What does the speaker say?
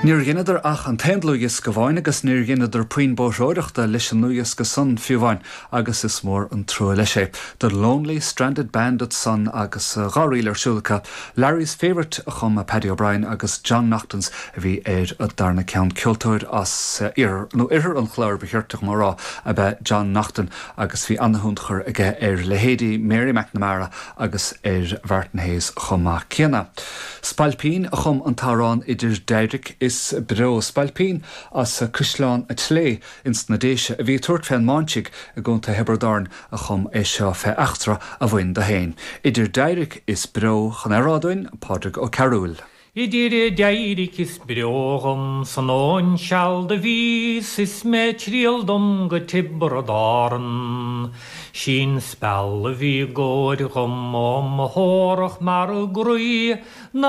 Níor dheineadar ach an t-aon dlúthdhiosca amháin agus níor dheineadar puinn bóithreoireachta leis an ndlúthdhiosca san fiú amháin agus is mór an trua leis é. The Lonely Stranded Band ansan agus dá ríl ar siúl acu. Larry's Favourite a chum Paddy O'Brien agus John Naughton's a bhí ar an darna ceann. Ceoltóir as iarthar, nó oirthear an Chláir ba chirte dhom a rá, ab ea John Naughton agus bhí ana-thionchar aige ar leithéidí Mary McNamara agus ar Mhartin Hayes chomh maith céanna. Spailpín a chum an t-amhrán Idir D'éiric is Breo. Spailpín as Caisleán a' tSléibhe ins na Déise a bhí ag tabhairt fén mBáinsigh i gContae Thiobraid Árann a chum é seo fé eachtra a bhain do fhéin. Idir D'éiric is Breo chun é a rá dúinn, Pádraig Ó Cearúil. Idir d'éiric is breo dhom san nóin seal do bhíos is mé triall dom go Tiobraid Árann. Sí'n speal a bhí i gcóir dhom ó mo thórach mar i gcroí ná.